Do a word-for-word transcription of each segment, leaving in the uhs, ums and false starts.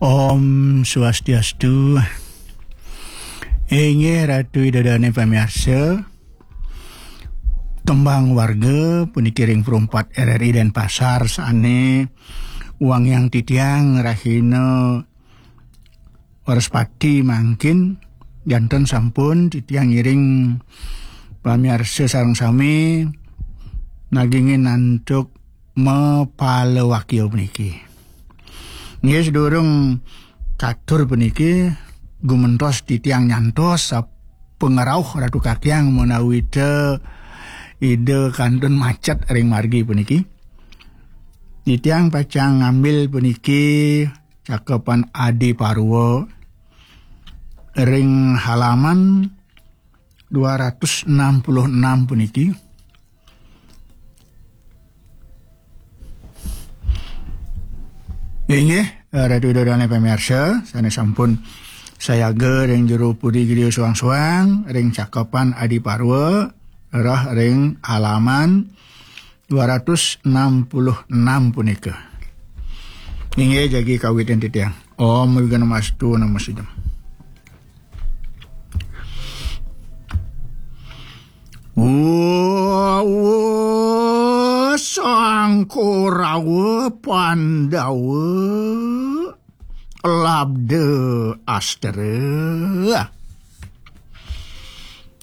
Om Swastiastu. Inggih Ratu Ida Dane pamiarsa. Tembang warga puniki ring Perumpat R R I Denpasar sane wangiang titiang rahina Wrespati mangkin, janten sampun titiang ngiring pamiarsa sareng sami nagingin antuk mapalawakya puniki. Nggih, sedurung katur puniki, gumentos titiang nyantos sapangrauh Ratu Kakyang menawi ta Ida kantun macet ring margi puniki. Titiang pacang ngambil puniki Cakepan Adi Parwa ring halaman dua ratus enam puluh enam puniki. Inggih, Ratu Ida Dane pamiarsa, sane sampun sayaga ring jero puri griya suang-suang, ring Cakepan Adi Parwa, rereh ring halaman dua ratus enam puluh enam punika. Inggih jagi kawitin titiang. Om Wignamastu Namo Sidam. Wa, wa, Sang Korawa Pandawa Labda Astra.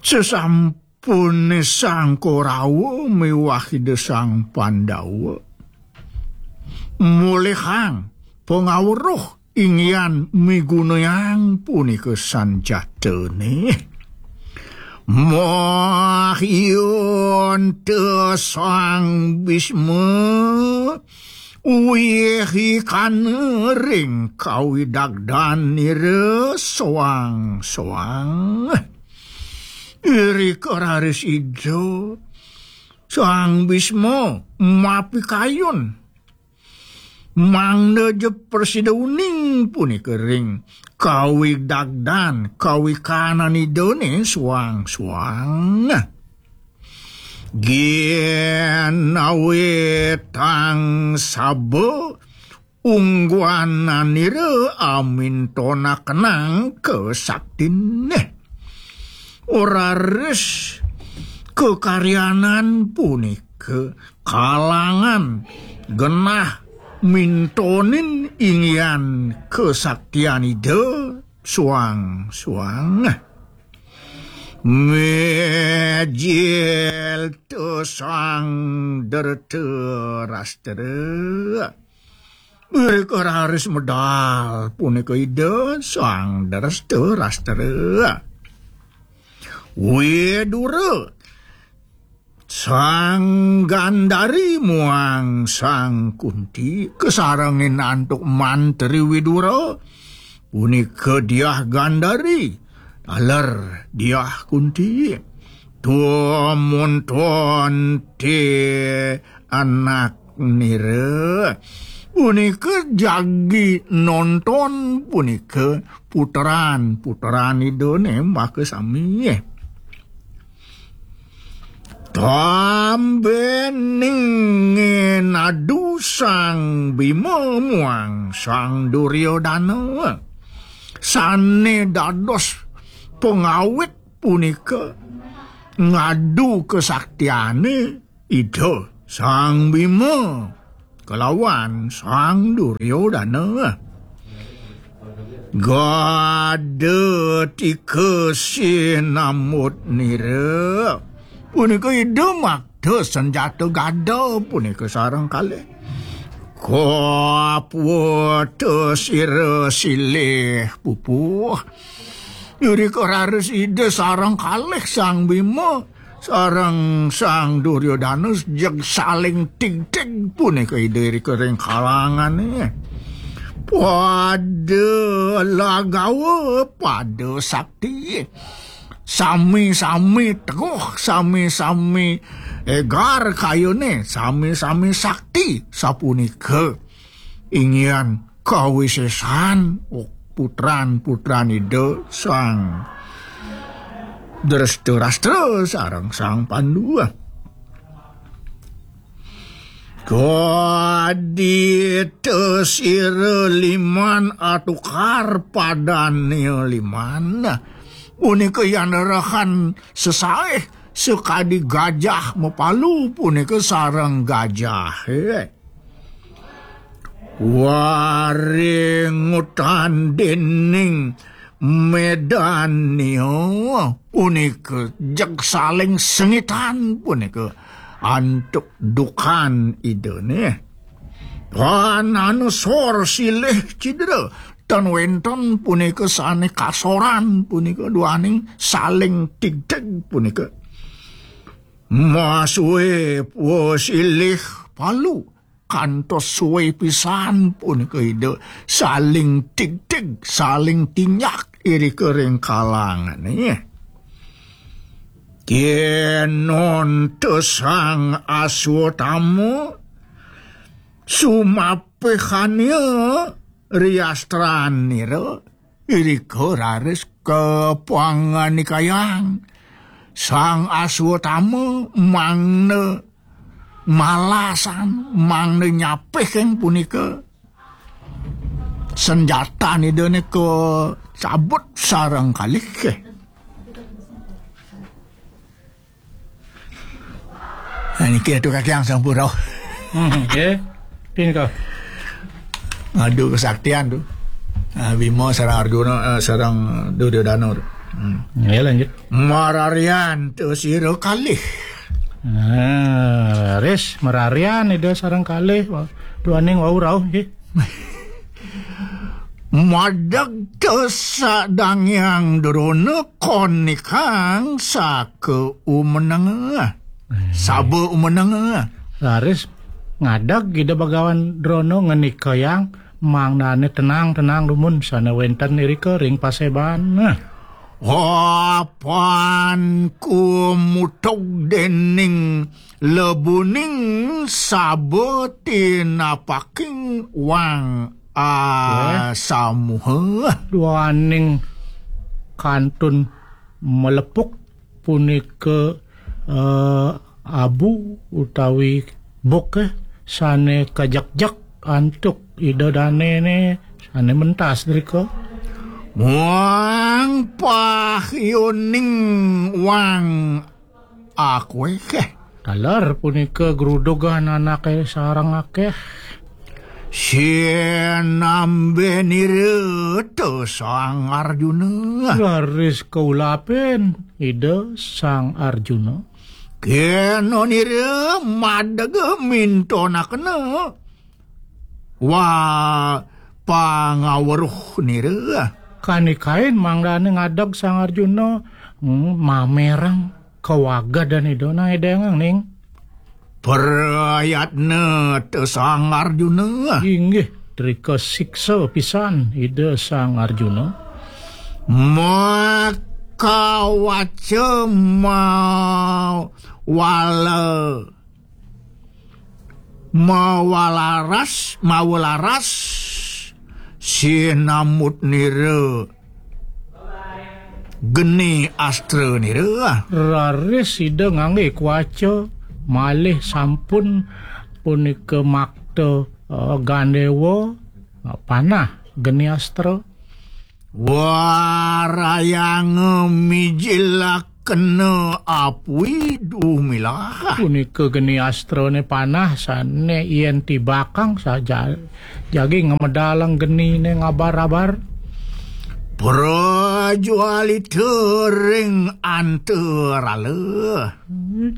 Sesampune Sang Korawa miwah Ida Sang Pandawa mulihang pangaweruh inggihan migunayang punika sanjatane. Mahyunta Sang Bisma wihi kana ring kawidagdan nira soang-soang. Irika raris Ida Sang Bisma mapikayun mangda ja prasida uning punika ring kawidagdan kawikanan Idane soang-soang. Ginawitang saba ungguananira amintonakenang kasaktine. Raris kakaryanan punika kalangan genah mintonin inggihan kasaktian Ida soang-soang. Mijil ta Sang Drtarastra. Irika raris medal punika Ida Sang Drtarastra. Widura, Sang Gandari muang Sang Kunti kasarengin antuk mantri Widura, punika Diah Gandari, taler Diah Kunti. Tumuntun ti anak nira. Punika jagi nonton punika putran-putran Idane maka sami. Tambening nadu Sang Bima muang Sang Duryodana sane dados pengawit punika ngadu kesaktiane Ida Sang Bima kalawan Sang Duryodana. Gada tika sinamut nira. Punika Ida makta senjata gada punika sareng kalih. Kaputa sira silih pupuh. Irika raris Ida sareng kalih Sang Bima sareng Sang Duryodana jeg saling tigtig punika Ida irika ring kalangane. Pada lagawa, pada sakti. Sami-sami teguh, sami-sami egar kayune, sami-sami sakti. Sapunika inggihan kawisesan putran-putran Ida Sang Drestarstra sareng Sang Pandu. Kadi tesira liman atukar padane liman. Punika yan rehan sesaih sekadi gajah mapalu punika sareng gajah. Waringutan dening Medania punika jeg saling sengitan punika antuk dukan Ida nih. Panana sor silih cidra tan wenten punika sane kasoran punika duaning saling tigtig punika. Masue pua silih palu kantos suwe pisan punika Ida saling tigtig, saling tinjak irika ring kalangane. Kenon tesang aswatama sumapihania riastranira irika raris kapanganikayang sang aswatama mangda malasan mangda nyapih keng punika senjatan idane kacabut sareng kalih. Nah, niki atu kakiang sampun rauh. Hmm, nggih. Pin ka. Ngadu kesaktian tu. Ah, Bima sareng Arjuna, eh, sareng Duryodana tu. Hmm. Ya, lanjut. Mararian tu sira kalih. Nah, ris mararian ida sareng kalih. Duaning wau rauh nggih. Madeg tesadangyang Drona konikang saka umeneng. Saba umeneng. Raris ngadeg Ida Bagawan Drona ngenikayang mangdane tenang-tenang dumun sane wenten irika ring paseban. Apan kumutug dening lebuning saba tinapaking wang asamuha. Duaning kantun melepuk punika, eh, abu utawi bukeh sane kajekjek antuk Ida Danene sane mentas drika. Muang pahyuning wang akwekeh. Taler punika grudugan anake sareng akeh. Sinambenira ta Sang Arjuna. Raris kaulapin Ida Sang Arjuna. Kenonira madega mintonakena. Wa pangaweruh nira. Kanikain mangdane ngadeg Sang Arjuna, hmm, mamerang kawagedan Ida nang edengang ning. Prayatna ta Sang Arjuna. Inggih, trika siksa pisan Ida Sang Arjuna. Makawaca mawala mawalaras, mawalaras, sinamut nira geni astra nira. Raris Ida ngangge kuaca, malih sampun punika makta, eh, gandewa, eh, panah geni astra. Warayanga mijilakena apui dumilah. Punika geni astrane panah sane yen tibakang saja jagi ngamedalang genine ngabar-abar. Prajualita ring antarala.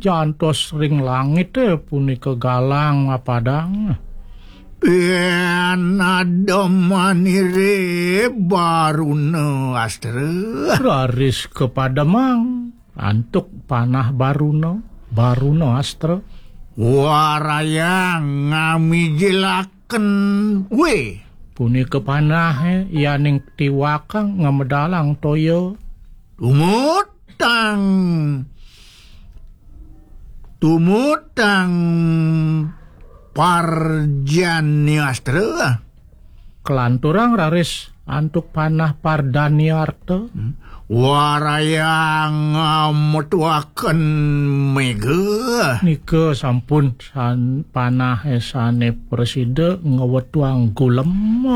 Jantos ring langite punika galang mapadang. Yen ademanire Baruna Astra. Raris kapademang antuk panah Baruna, Baruna Astra. Warayang ngamijilaken we. Punika panahe yaning tiwakang ngamedalang toya. Tumut tang tumutang parjaniastra. Kelanturang raris antuk panah pardaniarta. Hmm. Warayang, ah, metuaken mega. Nika sampun san-, panahe sane prasida ngwetuang gulem.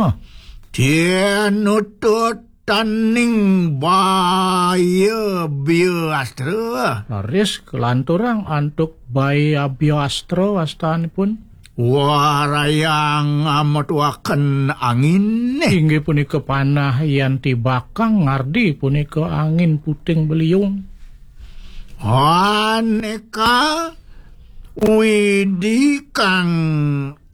Tinutut taning baya biastra. Raris kalanturang antuk baya biastra wastanipun. Warayang ametuaken angin. Inggih punika panah yan tibakang ngardi punika angin puting beliung. Aneka widi kang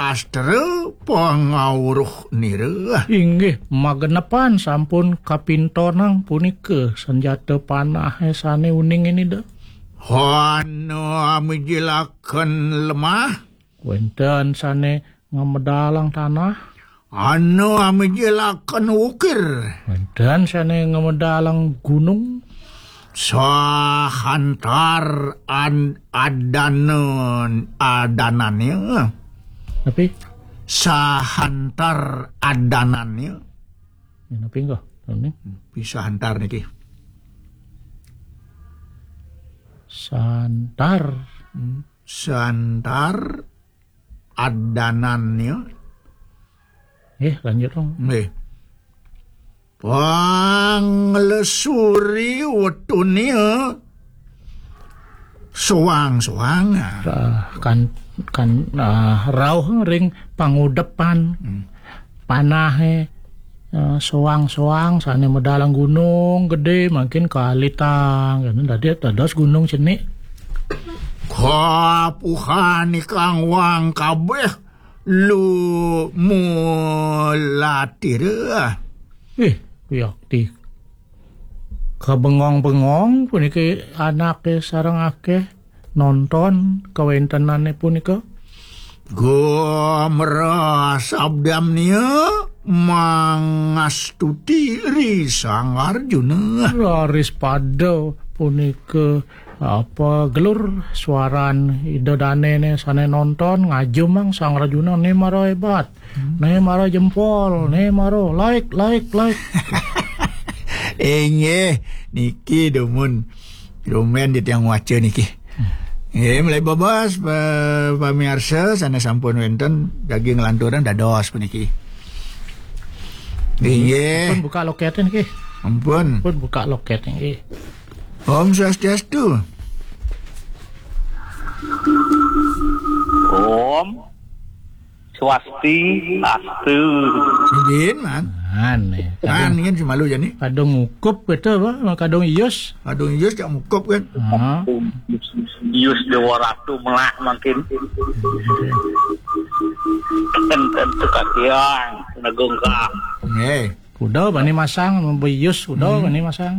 astra pangawruh nira. Inggih, magenepan sampun kapintonang punika senjata panahe sane uning ini da. Ana amijilaken lemah. Wenten sane ngamedalang tanah. Ana amijilaken ukir. Wenten sane ngamedalang gunung. Sahantar an-, adana, adananya. Tapi sahantar adananya. Ya, tapi enggak. Ini. Bisa hantar niki. Santar. Hmm. Santar adanannya. Eh, lanjut dong. Nggih. Panglesuri wetune soang-soang. Ah, kan, kan, ah, rauh ring pangudepan. Hmm. Panahe, eh, soang-soang sane medalang gunung gede mangkin kalitang. Dadi dados gunung cenik. Kapuhan ikang wang kabeh lu mulatira. Eh, yakti. Kabengong-bengong puniki anake sareng akeh nonton kawentenane punika. Gumrasabdamnia mangastuti ri Sang Arjuna. Raris pada punika apa gelur suaran Ida Danene sane nonton ngajumang Sang Arjuna ne mara hebat. Hmm. Ne mara jempol, ne mara like, like, like. Inggih, niki dumun. Rumen di tiang waca niki. Hmm. Nggih, mulai bebas, pa-, pamiarsa sane sampun wenten daging lanturan dados puniki. Inggih. Pun buka loket niki. Ampun. Pun buka loket niki. Om Swastiastu. Om Swastiastu. Sidin, Man. Aneh. Man, ingin semalu jani. Kadung ngukup gitu, apa? Kadung ius. Kadung ius cak ngukup kan. Ah. Ius Dewa Ratu melah mangkin. Enten tu kakiang, negung ka. Nggih. Kuda bani masang, beius kuda hmm. Bani masang.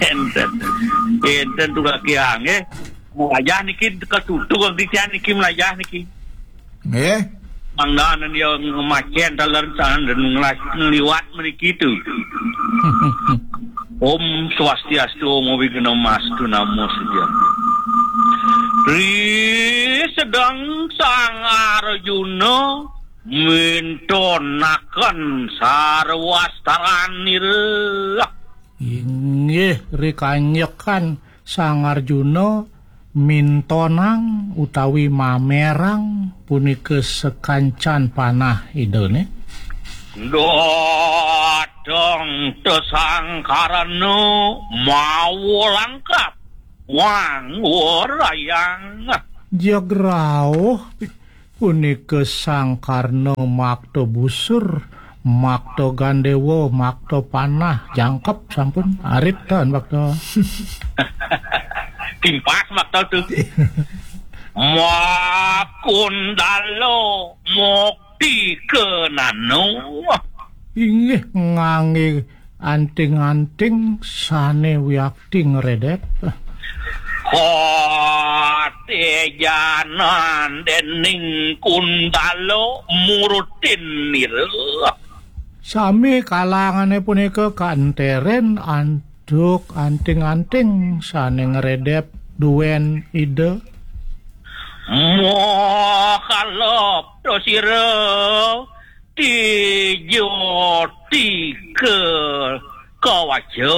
Enten. Enten tu kakiang, eh. Melajah niki katutu kang titian niki melajah niki. Nggih. Mangdanan dia ngemacen taler sana dan ngelas-, ngeliwat meniki tu. Om Swastiastu, Om Awighnamastu, Namo Siddham. Ri sedeng Sang Arjuna mintonaken sarwastaranira. Inggih rikanjekan Sang Arjuna mintonang utawi mamerang punika sekancan panah idane. Dateng tesangkarana mawa langkap wang warayang. Jagrauh punika Sang Karna makta busur, makta gandewa, makta panah, jangkep sampun arit tan makta. Timpas makta tu. Makundala mukti kenano. Inggih ngangge anting-anting sane wiakti ngredep. Katejanan dening Kundala murutin nira. Sami kalangane punika kaenteren antuk anting-anting sane ngredep duen Ida. Moh kalep to sira. Tija Aja.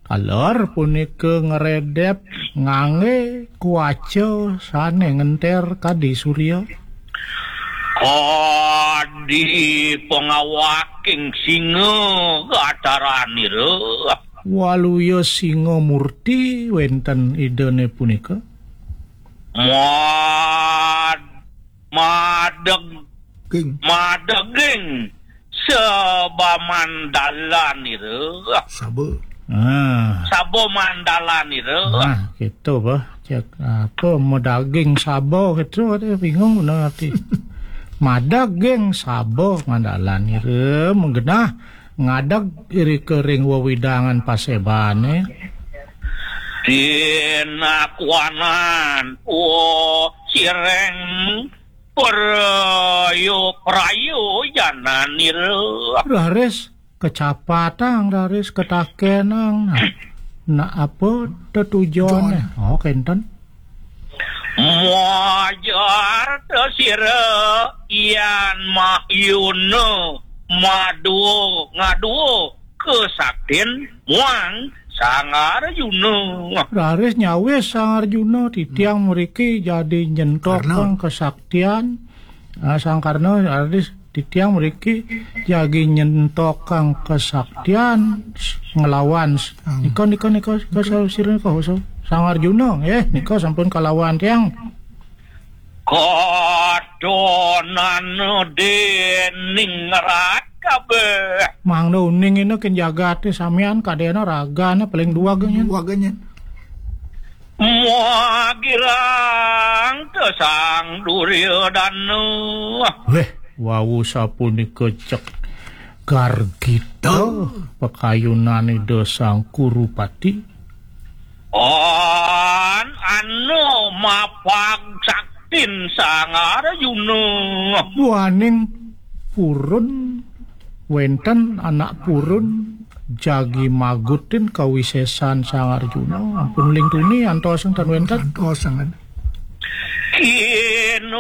Taler punika ngredep ngangge kuaca sane ngenter kadi surya. Kadi pengawaking singa gataranira. Waluya singa murti wenten Idane punika. Mad-, madeg-, King. Madeging sebamandalanira. Saba. Ah. Saba mandalanira. Nah, gitu, bah. Cek apa, madaging saba gitu, ada bingung bener arti. Madaging saba mandalanira, menggenah ngadeg irika ring wewidangan pasebane. Dinakuanan, oh, sireng prayo, prayo jananira. Raris kecapatang, raris ketakenang. Nah, nah, apa tetujone? Jon. Oh, kenten. Mojar tesira yan mahyuna madua ngadua kesaktin muang Sang Arjuna. Raris nyawis Sang Arjuna, titiang mriki jadi nyentokang Karna. Kesaktian. Ah, Sang Karna, raris titiang mriki jagi nyentokang kesaktian nglawan. Ah. Nika, nika, nika, nika, sa-, sira nika, sa-, Sang Arjuna, eh, nika sampun kalawan tiang. Kadonana dening rat kabeh. Mangda uning ina ken jagate samian kadena ragane paling duwag nyen. Duwag nyen. Muagirang te Sang Duryodana. Weh, wau sapunika cek gargita. Oh. Pakayunan Ida Sang Kurupati. On anu mapag saktin Sang Arjuna. Buaning purun wenten anak purun jagi magutin kawisesan Sang Arjuna. Ampun ling tuni antos enten wenten. Antos sangat. Kinul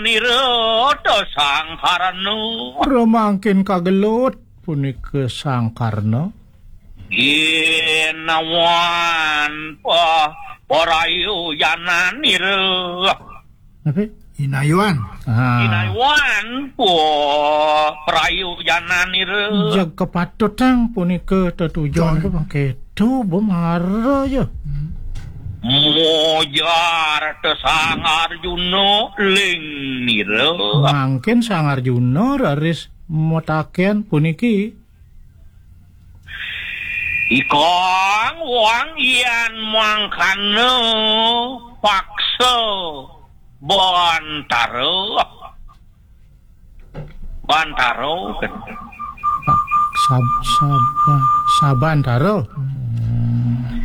nira ta Sang Karna. Remangkin kagelut punika Sang Karna. Inawan pa-, parayu jananira. Apa? Inayuan. Ah. Inayuan pa-, parayu jananira. Jeg kepatutang punika tetujon. Jon. Apa bangketu bemara ya. Hmm. Mojar te Sang Arjuna ling nira. Mangkin Sang Arjuna raris mataken puniki. Ikang wang yan mangkana paksa bantara. Bantara. Sab-, sab-, sabantara. Hmm.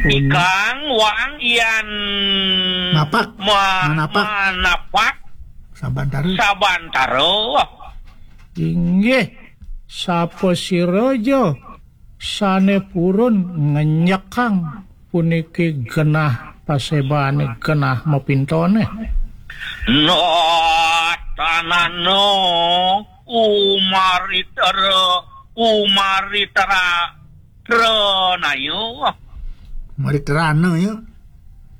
Ikang wang yan Mapak. Ma-, manapak. Manapak. Sabantara. Sabantara. Inggih, sapa sira ja sane purun ngenyekang puniki genah pasebane, genah mapintone? Natanana umaritra, umaritra, tranaya. Umartrana ya.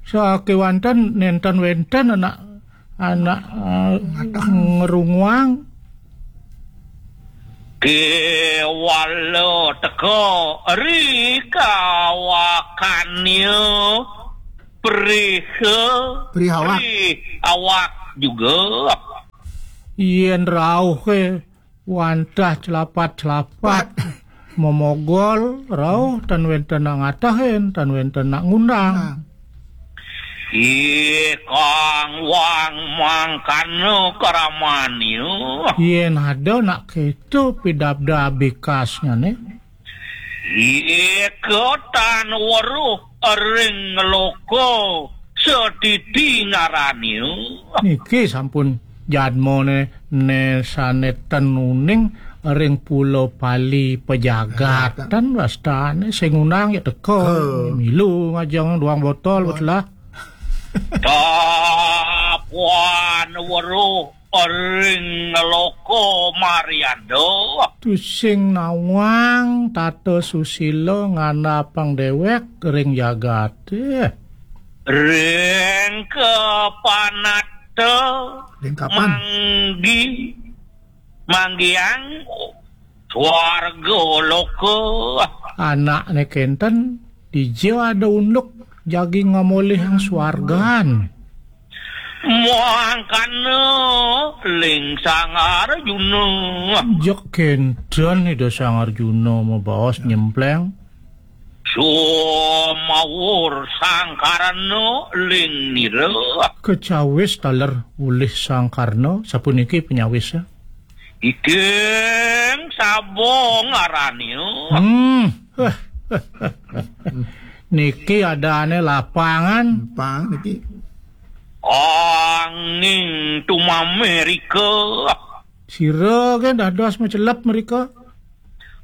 Sakewanten nenten wenten anak anak, eh, ngrunguang. Kewala teka ri kawakanya prih, prih awak. Prih awak juga. Yen rauh ke wantah celapat-celapat. Momogol rauh tan wenten nak ngatahin, tan wenten nak ngundang. Nah. Ikang wang mangkana kramanya. Yen ada nak keto pidabdab bikasnya ne. Ika tan weruh ring loka setiti ngarania. Niki sampun jadmane ne sane ten uning ring Pulo Pali pejagatan wastane sing undang ya teka. Milu ngajeng duang botol betelah. Tapuan weruh ring loka Marianda. Tusing nawang tata susila ngandhapang déwék ring jagaté. Ring kapanata Ring kapan? Manggi-, manggiang swarga loka. Anakné kénten, dija ada unduk jagi ngamolihang swargan. Mangkana ling Sang Arjuna. Jeg kénten Ida Sang Arjuna mabaos nyempleng. Sumawur Sang Karna ling nira. Kecawis taler ulih Sang Karna, sapuniki panyawisa. Iking saba ngarania. Hmm. Niki adané lapangan. Pang niki. Anging tumamé rika. Sira ké dados macelep mrika.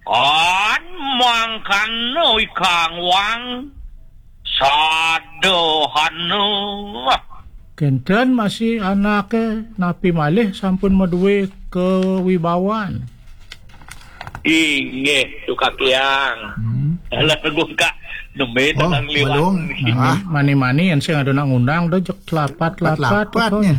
Kan mangkana ikang wang sadahana. Kénten masih anaké napi malih sampun madué kawibawan. Inggih, Tukang Hyang. Hmm. Alah, Gungkak, nembé Oh, tenang liwat. Belum. Ah. Mani-mani yén sing ada nak ngundang, dah jeg lapat-lapat. Lapat-lapatnya.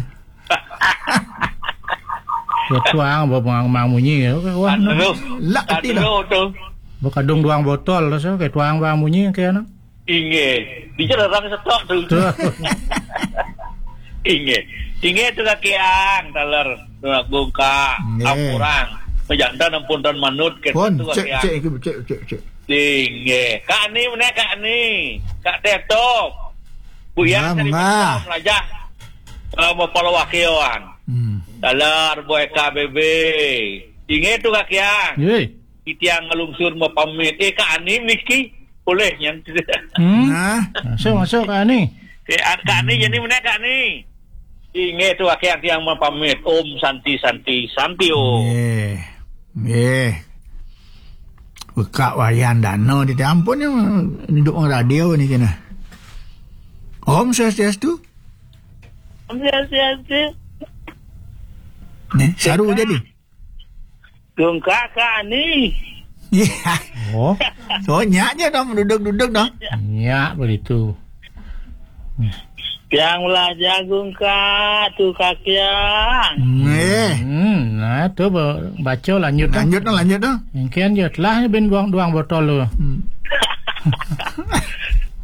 Ya, tuang, ba-, mang, mang munyi, ya. Wah, Aduh. Lak keti dah. Aduh, tuh. Bakadung duang botol, terus, ya, kayak tuang, bang, munyi, kayak anak. Inggih. Dija rerang setok tuh. Tuh. Inggih. Inggih, Tukang Hyang, taler. Tukang Gungkak, Inggih. Ampurang. Majanten ampun tan manut, kayak Pun, Tukang cek, Hyang. Cek, cek, cek, cek. Inggih. Kak Ni, mana Kak Ni? Kak Tetop. Bu Yang Mengah, tadi mengah. Melajah. Eh, mau follow wakilan. Hmm. Taler, boy K B B. Inggih Tukang Hyang. Yoi. Titiang ngalungsur mapamit. Eh, Kak Ani niki. Boleh, nyan. Hmm? Nah. Masuk, masuk, Kak Ani. Eh, Kak Ani, jadi mana Kak Ani? Inggih Tukang Hyang tiang mapamit. Om Santi, Santi, Santi, Om. Nggih. Nggih. Bekak wayan dana di ampun ya, duduk orang radio ni kena. Om Swastiastu. Om Swastiastu. Nih, saru jadi. Gungkak Kak Ani. Iya. Oh. So, nyak je dong, duduk-duduk dong. Nyak begitu. Yang belajar Gungkak tu Kak Yang. Eh. Hmm, nah, tu ba-, baca lanjut dah. Lanjut dah, lanjut dah. Mungkin je telah bin buang duang botol tu. Hmm.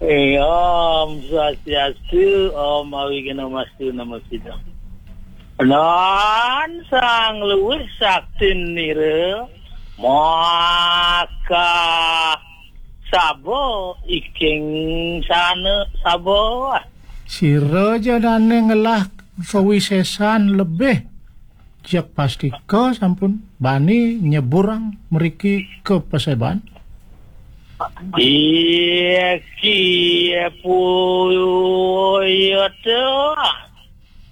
Eh, Om Swastiastu, Om Awighnamastu Namo Siddham. Nan sang luwih saktin nira, maka saba iking sana saba. Sira ja dane ngelah kawisesan lebih, jak pastika sampun bani nyeburang mriki ka paseban. Iki puyuh.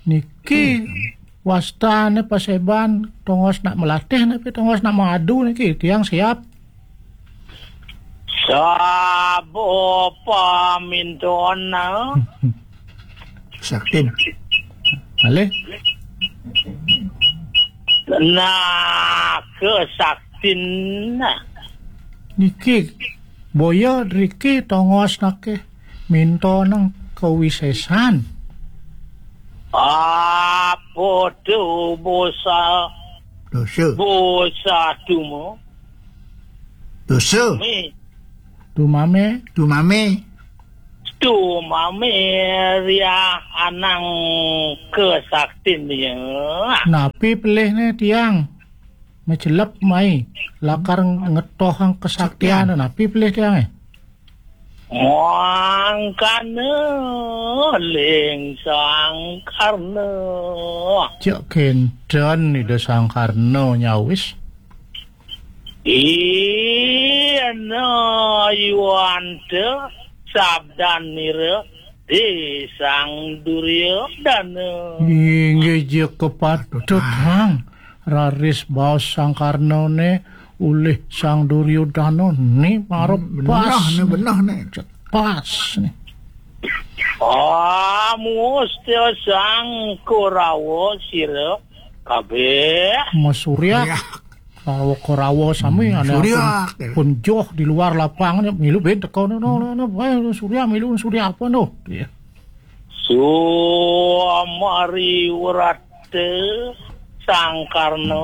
Niki wastane paseban, tongos nak melatih napi tongos nak mengadu niki, tiang siap. Sabo paminton, ah. Saktin. Alih. Nah, kesaktin. Niki, boya driki tongos nake minto nang kawisesan. Apa tu bosa? Dosa. Bosa tumo. Dosa. Mi. Tumame. Tumame. Tumame ria anang kesaktin dia. Napi pelihne tiang? Macelep mai, lakar ngetohang kesaktian, napi pelih tiange? Mangkana ling Sang Karna. Cek kenten Ida Sang Karna nyawis. Ina yuanta sabdan nira di Sang Duryodana. Inggih ja kepatut, Hang. Raris baos Sang Karnane ulih Sang Duryodana ni mara Hmm, benah pas ni, ni. Benah ni. Pas ni. Ah, musti Sang Kurawa sira Abeh. Mas Surya. Surya. Rawa-rawa sami. Hmm, aneh Surya. Pun, pun joh di luar lapangan, milu ben teko, no, no, no, no, eh, Surya, milu Surya apa, no? Iya. Sumari wrata Sang Karna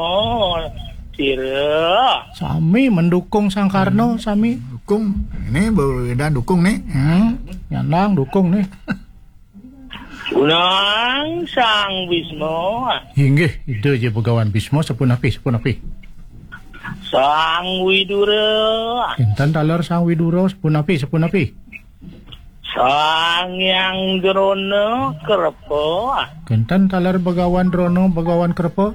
sira. Sami mendukung Sang Karna, sami. Dukung. Ini baru Ida dukung nih. Hmm, nyandang dukung nih. Unang Sang Bisma. Inggih, Ida ja Begawan Bisma, sapunapi, sapunapi. Sang Widura. Kinten taler Sang Widura, sapunapi, sapunapi. Sang Hyang Drona Krepa. Kinten taler Begawan Drona, Begawan Krepa.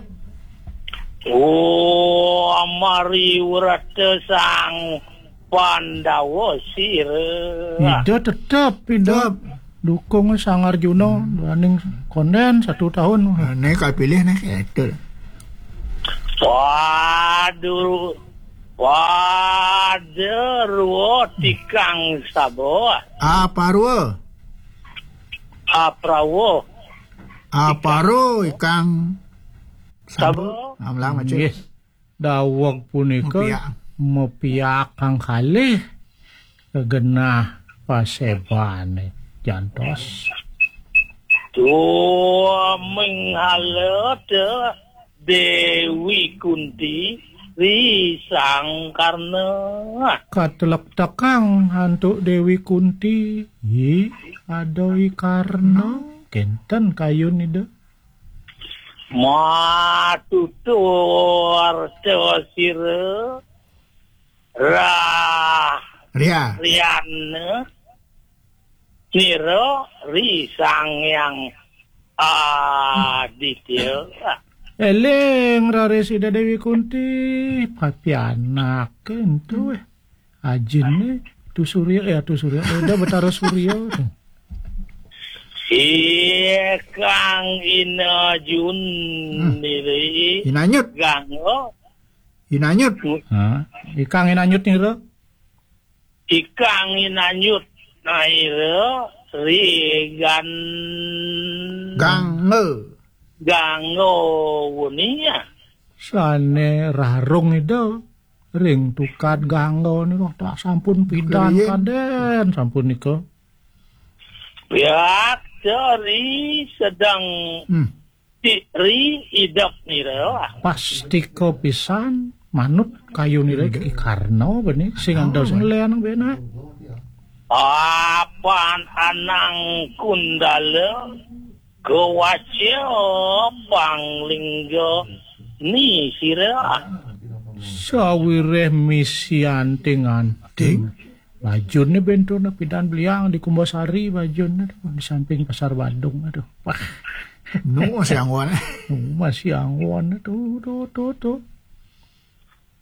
Oh, amari wrata Sang Pandawa sira. Ida tetep, Ida. Tetep. Dukung Sang Arjuna, duaning konden satu tahun. Ini kapilih nih, itu. Padu, Padarwa tikang saba. Aparwa. Aprawa. Aparo ikang saba. Saba. Amlang macam. Nggih. Daweg punika mepiak. Mepiak kang kalih genah pasebane jantos. Tua minghala te Dewi Kunti ri Sang Karna. Katelektekang antuk Dewi Kunti, hi, ada i Karna. Kenten kayun Ida. Matutur sira rah Ria. Riana nira ri Sang Hyang Aditya. Eling raris Ida Dewi Kunti, papianak entu, eh. Ajine Tu Surya, eh, Tu Surya, eh, Ida Betara Surya. Ikang Inajun Hmm. niri Inanyut. Gangga. Inanyut. Ha, ikang Inanyut nira. Ikang Inanyut naira ri gan Gangga. Gangga wenia. Sane rarung Ida ring tukad Gangga nika tak sampun pidan Kalian. Kaden sampun nika. Piak dari sedang Hmm. Ri idep nira. Pastika pisan manut kayunira. Ida. I Karna bene sing antos ngelian bene. Apan anang kundala kewaca panglingga ni sira. Sawireh misi anting-anting. Bajunne benturna pidan beliang di Kumbasari bajunne tuh, di samping Pasar Badung, aduh. Wah. Nu masih anggon. Nu masih anggon tuh, tuh, tuh, tuh.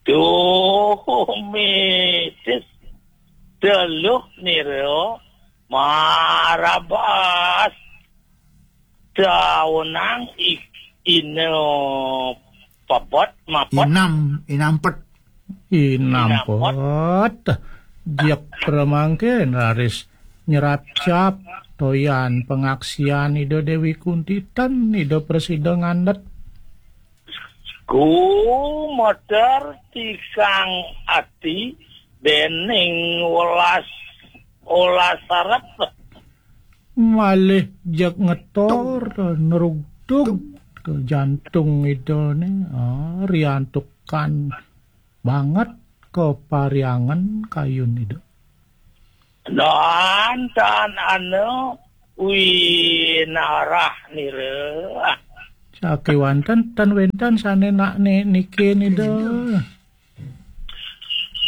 Tuh, mitis. Teluh niro marabas. Taunang ik-, ino pepet, mapet. Inam, inampet. Inampet. Inampet. Jek pramangkin raris nyerapcap toyan pangaksian Ida Dewi Kunti ten Ida prasida ngandet. Gumeter tikang ati dening welas, welas arep. Malih jeg ngetor nerugtug ke jantung Idane, ah, riantukan banget ke pariangan kayun Ida. Nantan anu winarah nira. Sakewanten ten wenten sane nak ni-, niki Ida.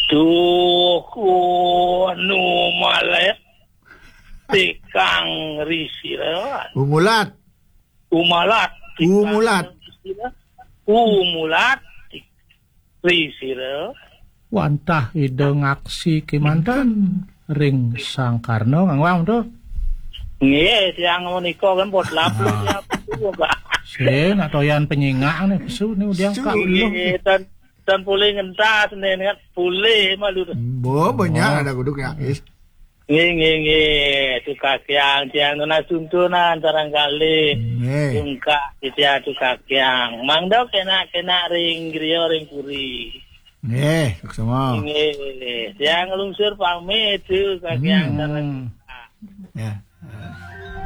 Tuh, nu malet tikang risira. Umulat. Umalat. Umulat. Umulat. Risira. Wantah Ida ngaksi kemanten ring Sang Karna ngangwam tuh. Nggih, tiang menika kan bot labu. Ah. Tiang tuh, Pak. Sing nak toyan penyingak nih, pesu nih udah. Pesu, kak nggih, lu. Tan, tan pulih ngentas nih, niat pulih malu tuh. Bo, banyak. Oh. Ada guduk ya, is. Nggih, nggih, nggih. Duka Kyang, tiang nunas tuntunan barangkali. Nggih. Tungkak titiang Duka Kyang. Mangda kena-kena ring griya ring puri. Nggih, suksma. Nggih, tiang nglungsur pamit Duka Kyang. Hmm. Ya.